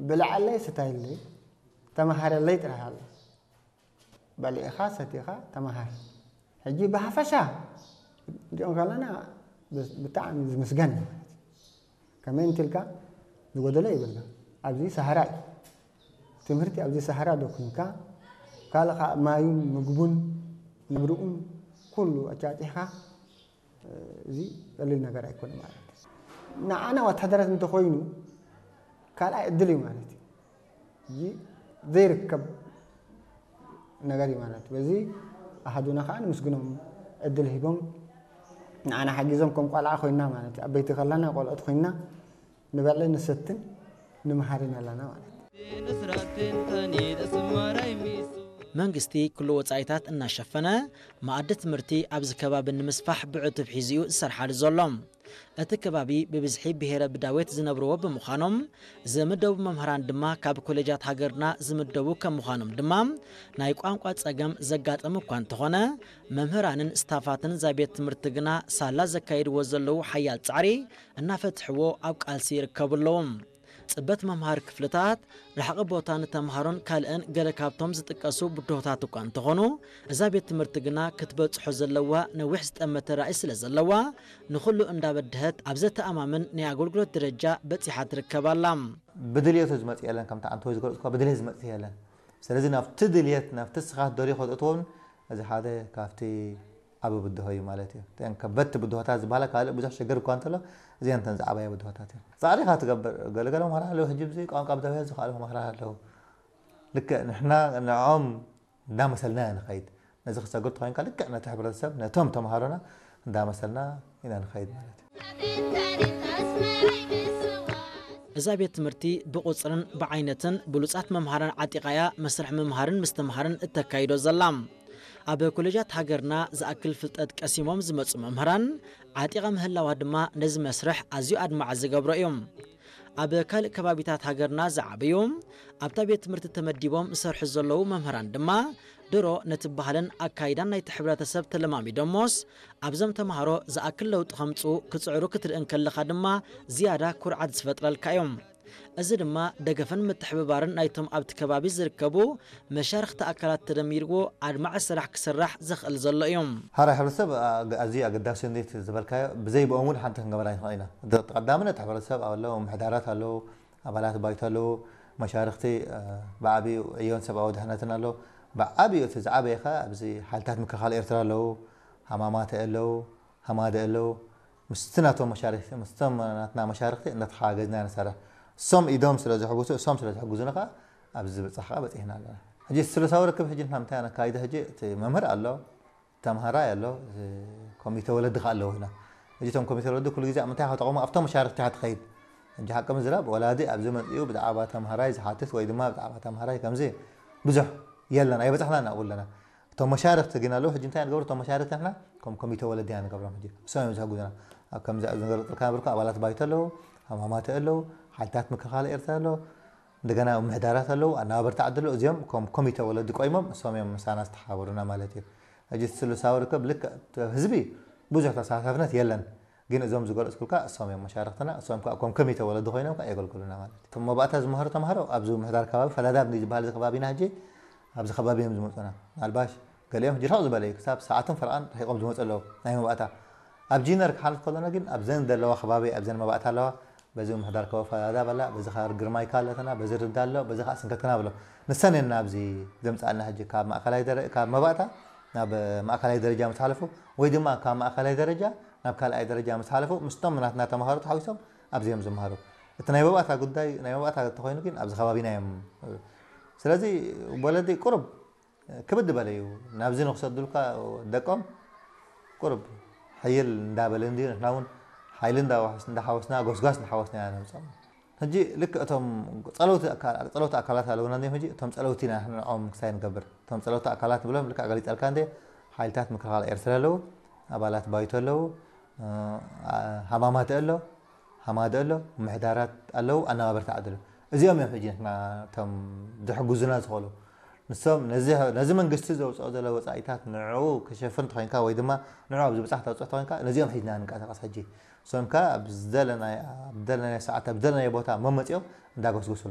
ብልዓለይ ስታይለይ ተመሃረለይ ጥራሕ ኣሎ። በሊዕኻ ሰቲኻ ተመሃር። ሕጂ ብሓፈሻ እንዲኦም ከለና ብጣዕሚ ዝምስገን እዩ ማለት እዩ። ከመይ እንትልካ ዝጎደለ ይብልካ። ኣብዚ ሰሃራ እዩ ትምህርቲ። ኣብዚ ሰሃራ ዶ ኩንካ ካልእ ከዓ ማዩን ምግቡን ነብርኡን ኩሉ ኣጫጢሕካ እዚ ቀሊል ነገር ኣይኮነ ማለት እዩ። ንዓና ወታደራት እንተኮይኑ ካልኣይ ዕድል እዩ ማለት እዩ። እዚ ዘይርከብ ነገር እዩ ማለት እዩ። በዚ ኣሃዱና ከዓ ንምስግኖም ዕድል ሂቦም ንዓና ሓጊዞም ከም ቆልዓ ኮይና ማለት እዩ። ኣበይቲ ከለና ቆልዑት ኮይና ንበልዕን ንሰትን ንምሃርን ኣለና ማለት እዩ። መንግስቲ ኩሉ ወፃኢታት እናሸፈነ መኣዲ ትምህርቲ ኣብዚ ከባቢ ንምስፋሕ ብዕቱብ ሒዙ እዩ ዝሰርሓሉ ዘሎ። እቲ ከባቢ ብብዝሒ ብሄረ ብዳዌት ዝነብርዎ ብምዃኖም ዝምደቡ መምህራን ድማ ካብ ኮሌጃት ሃገርና ዝምደቡ ከም ምዃኖም ድማ ናይ ቋንቋ ፀገም ዘጋጠም እኳ እንተኾነ መምህራንን ስታፋትን እዛ ቤት ትምህርቲ ግና ሳላ ዘካየድዎ ዘለዉ ሓያል ፃዕሪ እናፈትሕዎ ኣብ ቃልሲ ይርከቡ ኣለዉ። ፅበት መምሃሪ ክፍልታት፣ ርሕቂ ቦታ ንተምሃሮን ካልእን ገለ ካብቶም ዝጥቀሱ ብድሆታት እኳ እንተኾኑ እዛ ቤት ትምህርቲ ግና ክትበፅሖ ዘለዋ ነዊሕ ዝጠመተ ራእይ ስለ ዘለዋ ንኹሉ እንዳበድሀት ኣብ ዘተኣማምን ናይ ኣገልግሎት ደረጃ በፂሓ ትርከብ ኣላ። ብድልየቱ ዝመፅእ የለን ከምቲ ኣንተ ዝገለፅኳ ብድልየት ዝመፅእ የለን። ስለዚ ናብቲ ድልየት ናብቲ ስኻት ደልዮ ከትእትዎም እዚ ሓደ ካብቲ ዓቢ ብድሆ እዩ ማለት እዩ። እተን ከበድቲ ብድሆታት ዝበሃላ ካልእ ብዙሕ ሽግር እኳ እንተሎ እዚአን እተን ዝዓበያ ብድሆታት እየን። ፃዕሪ ኢኻ ትገብር። ገለገለ መምህራን ኣለዉ ሕጂ ብዚ ቋንቋ ብደውያ ዝኽኣሉ መምህራን ኣለዉ። ልክዕ ንሕና ንዕኦም እንዳመሰልና ኢና ንኸይድ። ነዚ ክሰግር ተኾይንካ ልክዕ ነቲ ሕብረተሰብ ነቶም ተምሃሮና እንዳመሰልና ኢና ንኸይድ ማለት እዩ። እዛ ቤት ትምህርቲ ብቑፅርን ብዓይነትን ብሉፃት መምሃራን ዓጢቓያ መስርሕ ምምሃርን ምስትምሃርን እተካይዶ ዘላ። ኣብ ኮሌጃት ሃገርና ዝኣክል ፍልጠት ቀሲሞም ዝመፁ መምህራን ዓጢቓ ምህላዋ ድማ ነዚ መስርሕ ኣዝዩ ኣድማዒ ዝገብሮ እዩ። ኣብ ካልእ ከባቢታት ሃገርና ዝዓበዩ ኣብታ ቤት ትምህርቲ ተመዲቦም ዝሰርሑ ዘለዉ መምህራን ድማ ድሮ ነቲ ባህልን ኣካይዳን ናይቲ ሕብረተሰብ ተለማሚዶሞስ ኣብዞም ተምሃሮ ዝኣክል ለውጢ ከምፅኡ ክፅዕሩ ክትርኢ እንከለኻ ድማ ዝያዳ ኩርዓት ዝፈጥረልካ እዮም። እዚ ድማ ደገፍን ምትሕብባርን ናይቶም ኣብቲ ከባቢ ዝርከቡ መሻርኽቲ ኣካላት ተደሚርዎ ኣድማዒ ስራሕ ክስራሕ ዘኽእል ዘሎ እዩ። ሓራይ ሕብረተሰብ ኣዝዩ ኣገዳሲ እንዴት ዝበልካዮ ብዘይ ብኦም እውን ሓንቲ ክንገበር ኣይንኽእል ኢና። ቀዳምነት ሕብረተሰብ ኣለዉ፣ ምሕዳራት ኣለዉ፣ ኣባላት ባይቶ ኣለዉ፣ መሻርኽቲ ብዓብዩ ዕዮን ሰብኣዊ ድሕነትን ኣለዉ። ብዓብዩ እቲ ዝዓበየ ከ ኣብዚ ሓይልታት ምክልኻል ኤርትራ ኣለዉ፣ ሃማማተ ኣለዉ፣ ሃማደ ኣለዉ። ምስቲ ናቶም መሻርኽቲ ምስቶም ናትና መሻርኽቲ እንዳተሓጋገዝና ንሰርሕ። እሶም ኢዶም ስለ ዝሕጉሱ እሶም ስለ ዝሕጉዙና ከዓ ኣብዚ ዝበፃሕ ከዓ በፂሕና ኣለና። ሕጂ ስሉሳዊ ርክብ ሕጂ ንሕና ምንታይ ነካይደ ሕጂ እቲ መምህር ኣሎ፣ ተምሃራይ ኣሎ፣ ኮሚተ ወለዲ ከዓ ኣለዉ ኢና። ሕጂ እቶም ኮሚተ ወለዲ ኩሉ ግዜ ኣብ ምንታይ ክጠቕሙ ኣብቶም መሻርኽቲ ኢኻ ትኸይድ። ሕጂ ሓቂ ምዝራብ ወላዲ ኣብዚ መፂኡ ብዛዕባ ተምሃራይ ዝሓትት ወይ ድማ ብዛዕባ ተምሃራይ ከምዚ ብዙሕ የለን ኣይበፃሕናን ኣብኡ ኣለና። እቶም መሻርኽቲ ግን ኣለዉ ሕጂ እንታይ ንገብሩ እቶም መሻርኽቲ ንሕና ከም ኮሚተ ወለዲ ኢና ንገብሮም ሕጂ እሶም እዮም ዝሕጉዙና። ኣብ ከምዚ ዝንገርጥልካ ነበርኩ ኣባላት ባይቶ ኣለዉ፣ ሃማማተ ኣለዉ፣ ሓይልታት ምክልኻል ኤርትራ ኣለዉ፣ እንደገና ምሕዳራት ኣለዉ፣ ኣነባበርቲ ዓዲ ኣለዉ። እዚኦም ከም ኮሚተ ወለዲ ቆይሞም እሶም እዮም ምሳና ዝተሓባበሩና ማለት እዩ። ሕጂ እቲ ስሉሳዊ ርክብ ልክዕ ህዝቢ ብዙሕ ተሳታፍነት የለን። ግን እዞም ዝገለፅኩልካ እሶም እዮም መሻርኽትና፣ እሶም ከዓ ከም ኮሚተ ወለዲ ኮይኖም ከዓ የገልግሉና ማለት እዩ። እቶም መባእታ ዝመሃሩ ተምሃሮ ኣብዚ ምሕዳር ከባቢ ፈዳዳብ ንዝበሃል እዚ ከባቢና ሕጂ ኣብዚ ከባቢ እዮም ዝመፁና። ምናልባሽ ገሊኦም ሕጂ ርሕቕ ዝበለ እዩ፣ ክሳብ ሰዓትን ፈረቓን ርሒቖም ዝመፁ ኣለዉ ናይ መባእታ። ኣብ ጂነር ክሓልፍ ከሎና ግን ኣብዘን ዘለዋ ከባቢ ኣብዘን መባእታ ኣለዋ፣ በዚ ምሕዳር ከባቢ ፈዳዳብ ኣላ፣ በዚ ከባቢ ግርማይካ ኣለትና፣ በዚ ርዳ ኣሎ፣ በዚ ከዓ ስንከትክናብ ኣሎ። ንሰን እየን ኣብዚ ዘምፅኣልና ሕጂ ካብ ማእከላይ ደረ ካብ መባእታ ናብ ማእከላይ ደረጃ ምስ ሓለፉ ወይ ድማ ካብ ማእከላይ ደረጃ ናብ ካልኣይ ደረጃ ምስ ሓለፉ ምስቶም ናትና ተምሃሮ ተሓዊሶም ኣብዚ እዮም ዝምሃሩ። እቲ ናይ መባእታ ጉዳይ ናይ መባእታ እንተኮይኑ ግን ኣብዚ ከባቢና እዮም። ስለዚ ወለዲ ቁሩብ ክብድ በለ እዩ ናብዚ ንክሰዱልካ ደቆም ቁሩብ ሕይል እንዳበለ እንድዩ ንሕና እውን ሓይሊ እንዳሓወስና ጎስጓስ እንዳሓወስና ኢና ነምፅኦም። ሕጂ ልክዕ እቶም ፀለውቲ ኣካላት ኣለውና እንዲም ሕጂ እቶም ፀለውቲ ኢና ንዕኦም ክሳይ ንገብር እቶም ፀለውቲ ኣካላት ብሎም ልክዕ ገሊፀልካ እንደ ሓይልታት ምክልኻል ኤርትራ ኣለዉ ኣባላት ባይቶ ኣለዉ ሃማማተ ኣሎ ሃማደ ኣሎ ምሕዳራት ኣለዉ ኣነባበርቲ ዓዲ ኣለዉ እዚኦም እዮም ሕጂ ንሕና እቶም ዝሕግዙና ዝኽእሉ ንሶም ነዚ መንግስቲ ዘውፅኦ ዘሎ ወፃኢታት ንዕኡ ክሸፍን ተኾይንካ ወይ ድማ ንዕኡ ኣብ ዝብፃሕ ተውፅኦ ተኾይንካ ነዚኦም ሒዝና ንንቀሳቐስ ሕጂ እሶም ከ ኣብ ዝደለናዮ ሰዓት ኣብ ዝደለናዮ ቦታ መመፂኦም እንዳጎስጎሱልና